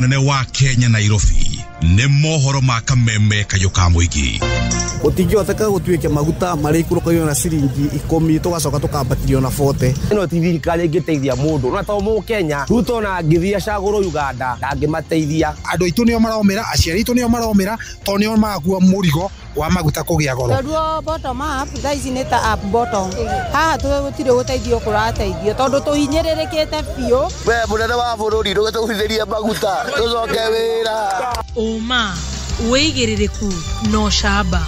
Nene wa Kenya, Nairobi, nĩ mohoro ma kameme kayũ ka mũingĩ. Gũtingĩhoteka gũtuĩke maguta marĩikũrũkagio na ciringi 10, tũgacoka tũkambatirio na 40. Ĩno ti thirikari ĩngĩteithia mũndũ na to mũkenya. Ruto na angĩthiĩ acagũrwo Uganda, ndangĩmateithia. Andũ aitũ nĩo maromĩra, aciari aitũ nĩo maromĩra, tondũ nĩo marakua mũrigo wa maguta kũgĩa goro. Tondũ bottom up thaa ici nĩ ta up bottom. Haha gũtirĩ gũteithio kũrateithio, tondũ tũhinyĩrĩrĩkĩte biũ. We mũnene wa bũrũri, ndũgĩtũgũithĩrie maguta tũcoke wĩra. Ũma, wĩigĩrĩrĩku na ũcamba.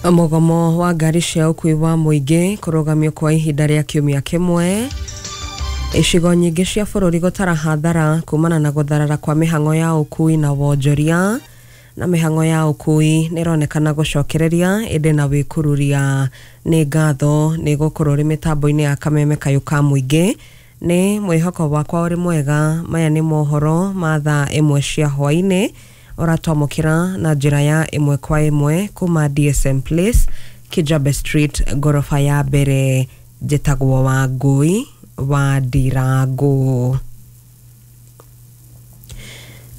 Mũgomo wa ngari cia ũkui wa mũingĩ kũrũgamio kwa ihinda rĩa kiumia kĩmwe. Icigo nyingĩ cia bũrũri gũtara hathara kumana na gũtharara kwa mĩhang'o ya ũkui na wonjoria, na mĩhang'o ya ũkui nĩ ĩronekana gũcokereria ĩndĩ na wĩkururia. Nĩ ngatho nĩ gũkorwo ũrĩ mĩtambo-inĩ ya kameme kayũ ka mũingĩ. Nĩ mwĩhoko wakwa ũrĩ mwega. Maya nĩ mohoro ma thaa 1 cia hwaĩ-inĩ, ũratwamũkĩra na njĩra ya ĩmwe kwa ĩmwe kuma DSM Place, Kijabe Street, ngoroba ya mbere. Njĩtagwo Wangũi wa Ndirangu.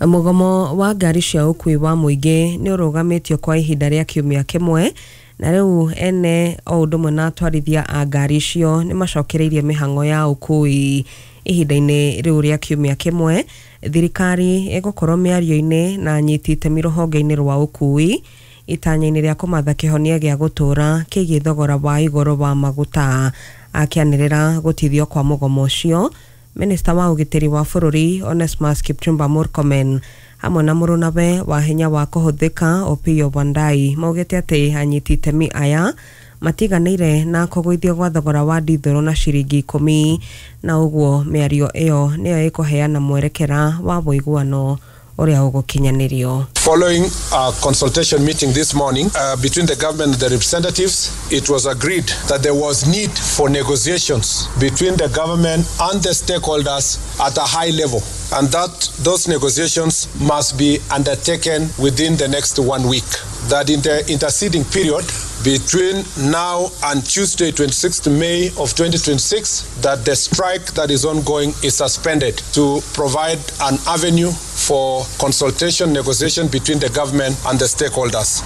Mũgomo wa ngari cia ũkui wa mũingĩ nĩ ũrũgamĩtio kwa ihinda rĩa kiumia kĩmwe, na rĩu ene o ũndũ ũmwe na atwarithia a ngari icio nĩ macokereirie mĩhang'o ya ũkui ihinda-inĩ rĩu rĩa kiumia kĩmwe. Thirikari ĩgũkorwo mĩario-inĩ na anyiti itemi rũhonge-inĩ rwa ũkui itanya-inĩ rĩa kũmatha kĩhonia gĩa gũtũũra kĩgiĩ thogora wa igũrũ wa maguta. Akĩanĩrĩra gũtithio kwa mũgomo ũcio, Minista wa ũgitĩri wa bũrũri Onesmus Kipchumba Murkomen hamwe na mũrũnawe wa hinya wa kũhũthĩka Opiyo Wandayi maugĩte atĩ anyiti itemi aya matiganĩire na kũgũithio gwa thogora wa ndithũrũ na ciringi 10, na ũguo mĩario ĩyo nĩyo ĩkũheana mwerekera wa ũiguano ũrĩa ũgũkinyanĩrio. Following a consultation meeting this morning between the government and the representatives, it was agreed that there was need for negotiations between the government and the stakeholders at a high level, and that those negotiations must be undertaken within the next 1 week. That in the interceding period between now and Tuesday, 26th May of 2026, that the strike that is ongoing is suspended to provide an avenue for consultation, negotiation between the government and the stakeholders.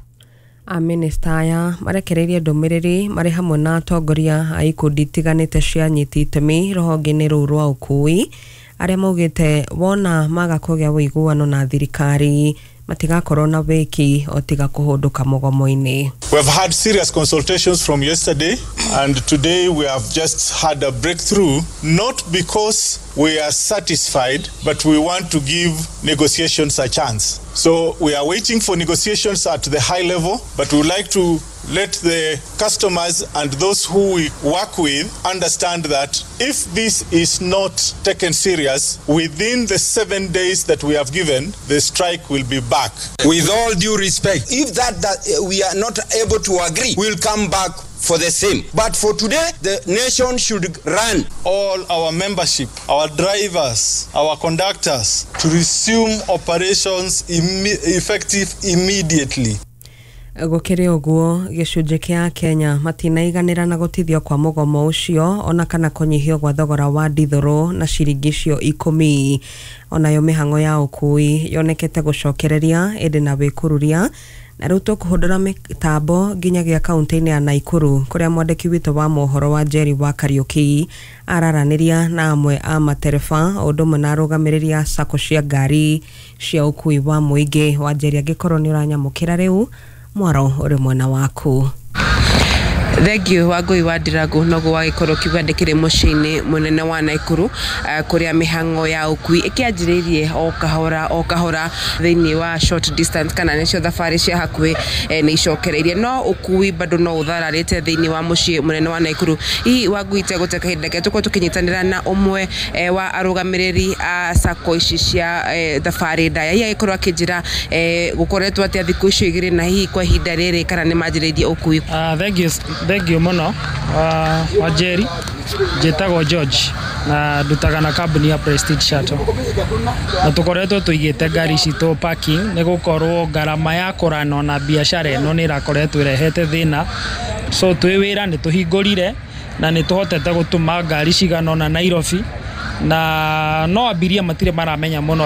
Amĩnĩsta aya marekereirie ndũmĩrĩri marĩ hamwe na atongoria a ikundi itiganĩte cia anyiti itemi rũhonge-inĩ rũu rwa ũkui, arĩa maugĩte wona maga kũgĩa ũiguano na thirikari matigakorwo na wĩki o tiga kũhũndũka mũgomo-inĩ. We have had serious consultations from yesterday, and today we have just had a breakthrough, not because we are satisfied, but we want to give negotiations a chance. So we are waiting for negotiations at the high level, but we would like to let the customers and those who we work with understand that if this is not taken serious, within the 7 days that we have given, the strike will be back. With all due respect, if that we are not able to agree, we'll come back for the same. But for today, the nation should run. All our membership, our drivers, our conductors, to resume operations effective immediately. Gũkĩrĩ ũguo, gĩcunjĩ kĩa Kenya matinaiganĩra na gũtithio kwa mũgomo ũcio ona kana kũnyihio gwa thogora wa ndithũrũ na ciringi icio 10. Onayo mĩhang'o ya ũkui yonekete gũcokereria ĩndĩ na wĩkururia, na rĩu tũkũhũndũra mĩtambo nginyagia kaunti-inĩ ya Naikuru kũrĩa mwandĩki witũ wa mohoro wa Jerry wa Kariuki araranĩria na amwe a matereba o ũndũ ũmwe na arũgamĩrĩri a sacco cia ngari cia ũkui wa mũingĩ. Wa Jerry, angĩkorwo nĩ ũranyamũkĩra rĩu, mwaro ũrĩ mwena waku. Thank you Wangũi wa Ndirangu. Noguo wagĩkorwo kiuga ndĩkĩrĩ mũciĩ-inĩ mũnene wa Naikuru, kũrĩa mĩhang'o ya ũkui ĩkĩanjĩrĩirie o kahora o kahora thĩinĩ wa short distance, kana nĩcio thabarĩ cia hakuhĩ, nĩ icokereirie, no ũkui bado no ũthararĩte thĩinĩ wa mũciĩ mũnene wa Naikuru. Hihi Wangũi, tegũte kahinda ke tũkorwo tũkĩnyitanĩra na ũmwe wa arũgamĩrĩri a sacco ici cia thabarĩ ndaya, hihi agĩkorwo akĩnjĩra gũkoretwo atĩa thikũ icio igĩrĩ, na hihi kwa ihinda rĩrĩ kana nĩ manjĩrĩirie ũkui. Thank you, thank you mũno, Wanjeri. Njĩtagwo George na ndutaga na kambuni ya Prestige Shuttle, na tũkoretwo tũigĩte ngari citũ parking nĩ gũkorwo ngarama ya kũranwo na biacara ĩno nĩ ĩrakoretwo ĩrehete thĩna. So twĩ wĩra nĩ tũhingũrire na nĩ tũhotete gũtũma ngari cigana ũna Nairobi. Na no abiria matirĩ maramenya mũno.